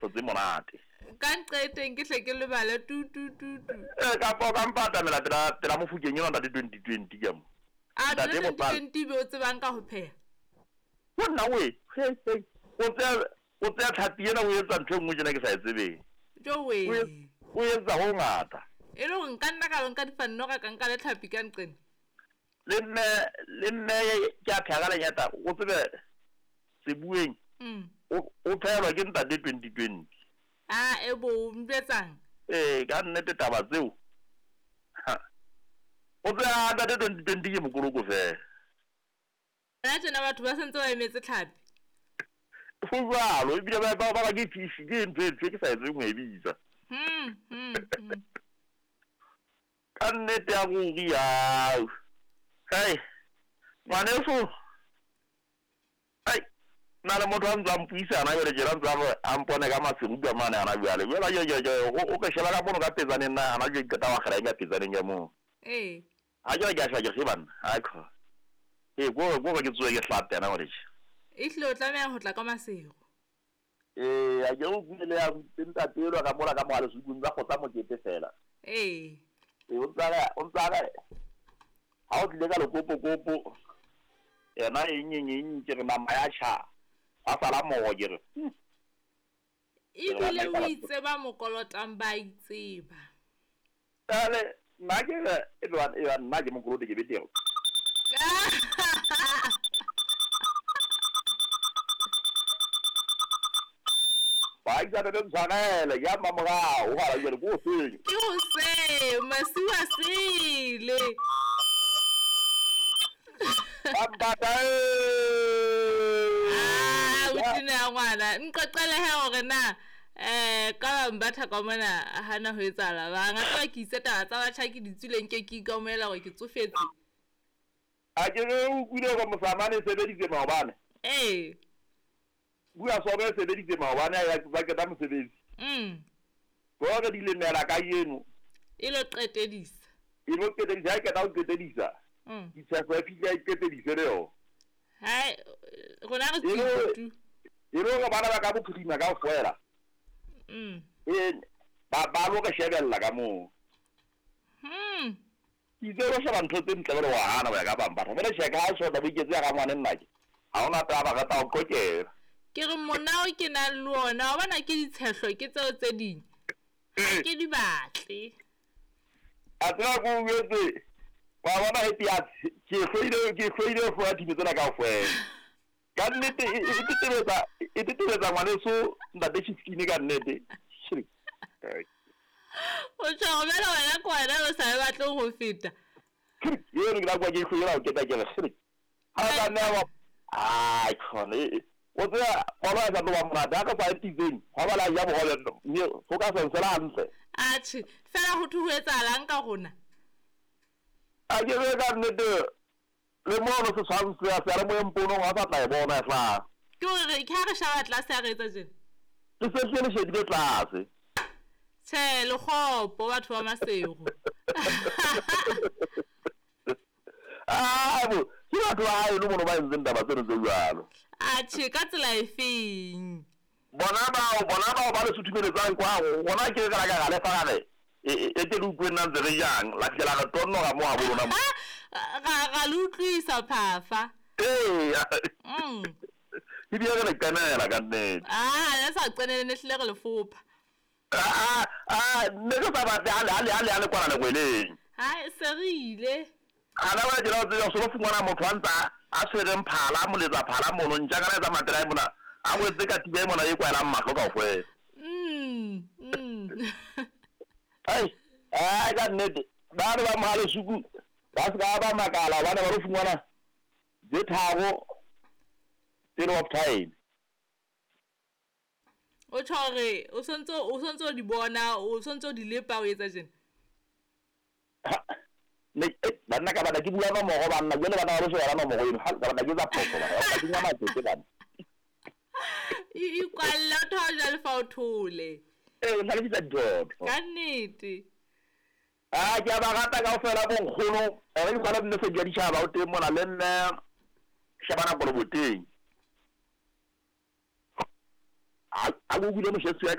Tse monate. Ka nqeteng ke hle ke lebale tu tu tu tu. Ee, kapa o ka mpa atamela pela pela mofokeng enwa ntate 2020 ka mo. A Ntate ntate Mosala. 2020 be o tsebang ka ho pheha. Ho nna we, hei hei. O tseya o tseya tlhapi ena o etsa ntho e nngwe tjena ke sa e tsebeng. Jowe. O e- o etsa ho ngata. E le hore nka nna ka lo nka difannoga ka nka le tlhapi ka nqena. Le mme le mme ke a pheha ka lenyata o tsebe sebueng o o phehelwa ke ntate 2020. A e bo mpetsang. Ee, ka nnete taba tseo. Ha. O tseba ntate 2020 ke mokoloko fela. Hona tjena batho ba sentse ba emetse tlhapi. Ho jwalo ebile ba ba ba ke fish ke ntho e ntho e ke sa e tsebeng ho e bitsa. Ka nnete ya ruri ao. Hei, ngwaneso. Ai, na le motho a ntse a mpuisana jwale tjena ntse a re a mpone ka maseru ka mane hana jwale. Jwale jo jo jo o ke sheba ka mono ka petsaneng na hana jwale ke qeta wa kgela eng ka petsaneng ya moo. Ee. Ha jwale ke a sheba ke re banna, hai kho. Ee, ko ko ke tsohe ke hlape hana jwale tje. Ehlile o tlameha ho tla ka maseru. Ee, a ke o buile le ya ntate elwa ka mola ka mola lesukung tsa kgotsa mokete fela. Ee. Ee, o ntsa re o ntsa re ha o tlile ka lekopokopo yena eng eng eng ke re nama ya tjha. Hwa sala moro ke re. Ebile o itse ba mo kolotang ba itseba. Jwale nna ke re e ba nna ke mokolote ke betere. Baahisane le ntshwarele ke ya mmamorao ho hana jwale ke hoseng. Ke hoseng masiu a sele. Bambata Ah, o tena ya ngwana. Nqoqele he hore na ka Bambatha ka mona hana ho etsahala bang. A tseba ke itse taba tsa batjha ke di tswileng ke ke ikamohela hore ke tsofetse. A ke re o utlwile hore mosamane e sebeditse maobane. Ee. Bua sobe e sebeditse maobane a ya ba qeta mosebetsi. Hore di lemela ka yeno. E lo qetedisa. E lo qetedisa, ha e qeta ho qetedisa. Ditshefo e fihla e qetedise le yona. Hai, rona re tswile tu. E le hore bana ba ka bophirima kaofela. E ba ba lo re shebella ka moo. Ke itse lo sheba ntho tse ntle jwale wa hana ho ya ka Bambatha. Jwale tjhe ka ha shota bo iketse ya rangwane nnake. Ha hona taba re tla o qoqela. Ke re monao ke nang le ona, wa bona ke ditshehlo ke tseo tse ding. Ha ke di batle. A tseba ko o jwetse wa bona happy ya ke hloile ho hloya dilo tsena kaofela. Ka nnete e tetebetsa ngwaneso ntate Chiskine ka nnete. O tjho jwale wena ke wena o sa e batleng ho feta. Eno ke la kwa ke hloile ho keta ke re. Ha ka nna wa ai khona o tseba bolo ya sa tlo ba monate ha ka sa e pitseng ha ba la ja bohole mme ho ka sa nsela hantle. Atjhe, fela ho thwe ho etsahalang ka rona? A ke re ka nnete le mono setshwantsho ya seyalemoyeng ponong ha sa tla e bona e hlaha. Ke hore ke ha re sheba tlase ha re etsa tjena. Le se hle le shebile tlase. Tjhe, le kgopo batho ba Maseru. Ah, bo, ke batho ba haeno mono ba entseng taba tseno tse jwalo. Atjhe, ka tsela efeng? Bona bao ba le suthumeletsang kwa rona ke re ka ra lefa ra re e ke le utlwe nna ntse re jang la fihla la re tonnoga mo habo lona mo. Ra le utlwisa phafa. Ee. Ebile re le qenela ka nnete. Ah, le sa qenele ne hlile re le fopha. Ah, ne re sa batle ha le kwana lekweleng. Hai, se re ile. Hana wa jela o tseba so fumana motho a ntsa a tshwereng phala moletsa phala mono ntja kana etsa matela mona a wetse ka tiba mona e kwaelang mahlo kaofela. Ai, ai ka nnete ba re ba Mohalesuku ba se ka ba makala hobane ba lo fumana tse tharo pele of time. O tjho hore o sontso o di bona, o sontso o di lepa o etsa tjena. Ne banna ka bana ke bua nomoro banna jwale bana ba lo sheba nomoro eno ha ka bana ke tsa phoso bana ba ke nyama tse bana. E kwalle o thola jwale fa o thole. Ee, o hlalosetsa dithotho. Ka nnete. Ah, ke a ba rata kaofela bo nkgono. Re ke kwala mme Sedi Ditjhaba o teng mona le mme Shabana Koloboteng. A go bule moshetsi ya